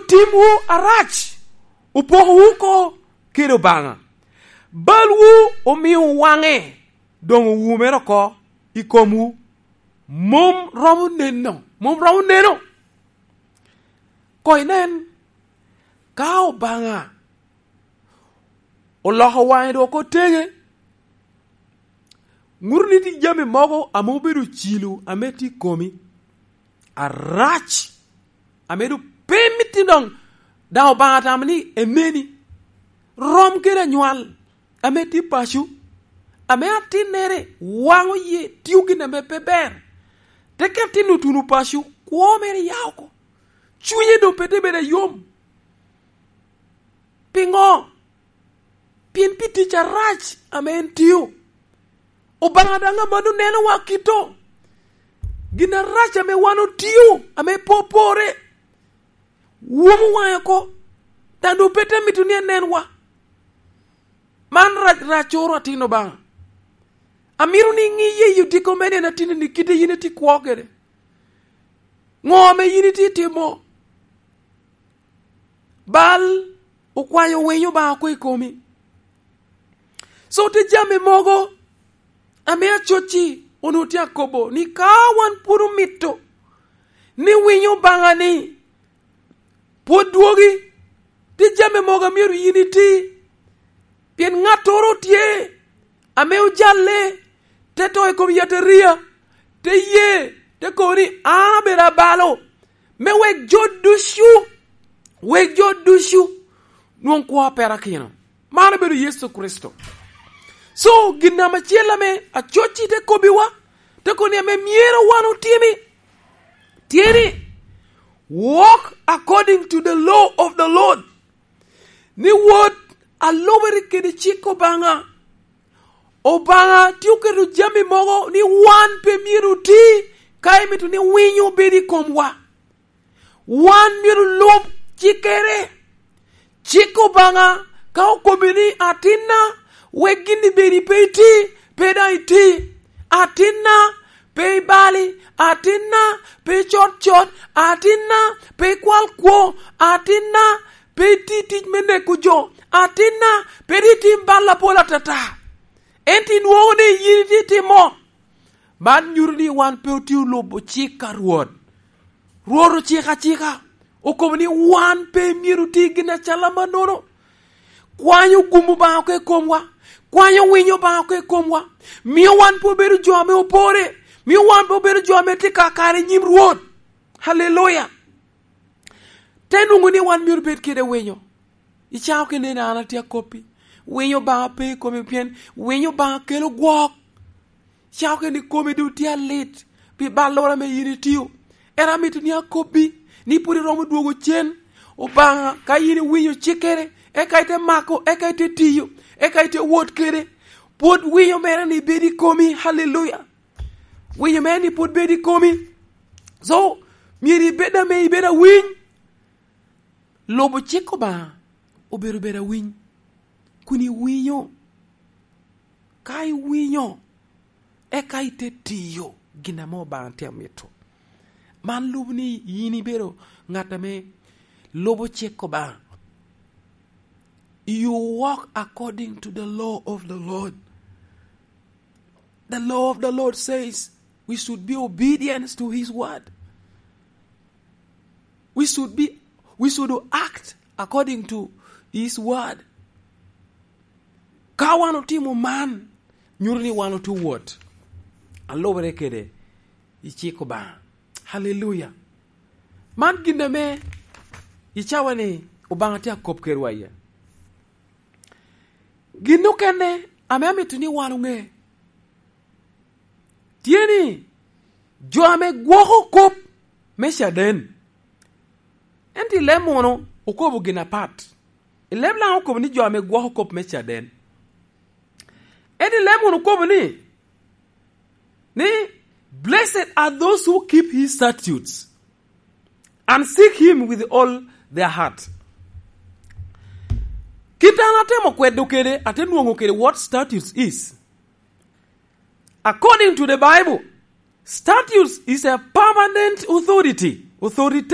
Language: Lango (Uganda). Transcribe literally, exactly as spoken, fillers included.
timwu arac, opokowu oko kede Obaŋa. Balwu omio waŋe, doŋ owumere oko i komwu. Mom romo neno, mom romo neno. Koŋ inen, ka Obaŋa oloko waŋe dok oko teŋe, ŋuto ni tye jami mogo ame obedo ocilo ame tye i komi arac, ame doŋ pe miti doŋ, daŋ Obaŋa tamo ni eneni. Rom kede anywal ame tye paco, ame atinnere waŋo ye tio gin ame pe ber, te ket tin otuno paco, kwo mere ya oko, cunye doŋ pe te bedo ayom. Piŋo? Pien pi tic arac ame en tio. Obaŋa daŋ amanno nenowa kito. Gin arac ame wan otio, ame pe opore, womo waŋe oko, daŋ doŋ pe te mito ni enenwa. Man rac, raccoro atin Obaŋa. Amito ni iŋi ye i odiko me neno atinni ni kite yin itye kwo kede. Ŋo ame yin itye timo? Bal okwanyo winyo Obaŋa oko i komi. So, tye jami mogo ame acoc-ci onwoŋo tye akobo ni ka wan pwod omito ni winyo Obaŋa ni pwod dwogi, tye jami mogo a myero yin iti. Pien ŋattoro tye ame ojalle, te to i kom yataria, te ye, te kobo ni, "An abedo abalo," me wek jo ducu, wek jo ducu nwoŋ kwo a perakino. Man obedo Yecu Kricito. So, gin ame acel ame acoc-ci te kobbiwa, te kobo ni ame myero wan otimi, tye ni, "Walk according to the law of the Lord." Ni wot alubere kede cik Obaŋa. Obaŋa tye oketo jami mogo ni wan pe myero oti ka emito ni winyo obed i komwa. Wan myero lub cikkere. Cik Obaŋa ka okobbi ni, "Atinna, wek gin-ni bedi pe iti, pe daŋ iti. Atinna, pe ibali. Atinna, pe icot cot. Atinna, pe ikwal kwo. Atinna, pe iti tic me neko jo. Atinna, pe itim bal apol atata." Ento inwoŋo ni yin itye itimo. Man nyuto ni wan pe otye olubo cik a Rwot. Rwot ociko acika, okobo ni wan pe myero oti gin acalo amannono. Kwanyo gum Obaŋa oko i komwa, kwanyo winyo Obaŋa oko i komwa, mio wan pe obedo jo ame opore, mio wan pe obedo jo ame tye kakare i nyim Rwot. Haleluya! Te nwoŋo ni wan myero bed kede winyo. Icako kede ni, "An atye akoppi." Winyo Obaŋa pe i komi, pien winyo Obaŋa kelo gwok. Icako kede ni komi doŋ tye alit pi balloro ame yin itio. Ento amito ni akobbi ni pwod iromo dwogo cen Obaŋa ka yin iwinyo cikkere, eka ite mako, eka ite tiyo, eka ite wot kede. Pwod winyo mere ni bedo i komi. Haleluya! Winyo mere ni pwod bedo i komi. So, myero ibed ame ibedo awiny. Lubo cik Obaŋa obedo bedo awiny, kun iwinyo. Ka iwinyo, eka ite tiyo gin ame Obaŋa tye amito. Man lubo ni yin ibedo ŋat ame lubo cik Obaŋa. You walk according to the law of the Lord. The law of the Lord says we should be obedient to his word. We should be, we should act according to his word. Ka wan otimo man, nyuto ni wan otye wot alubere kede i cik Obaŋa. Haleluya! Man gin ame icawa ni Obaŋa tye akop kedwa iye. Gin okene ame amito ni wan oŋe tye ni, jo ame gwoko kop me caden, ento i leb munu okobo gin apat. I leb Laŋo okobo ni jo ame gwoko kop me caden. Ento i leb munu okobo ni, ni, "Blessed are those who keep his statutes and seek him with all their heart." Kit an atemo kwedo kede, ate nwoŋo kede what statutes is. According to the Bible, statutes is a permanent authority, authoritative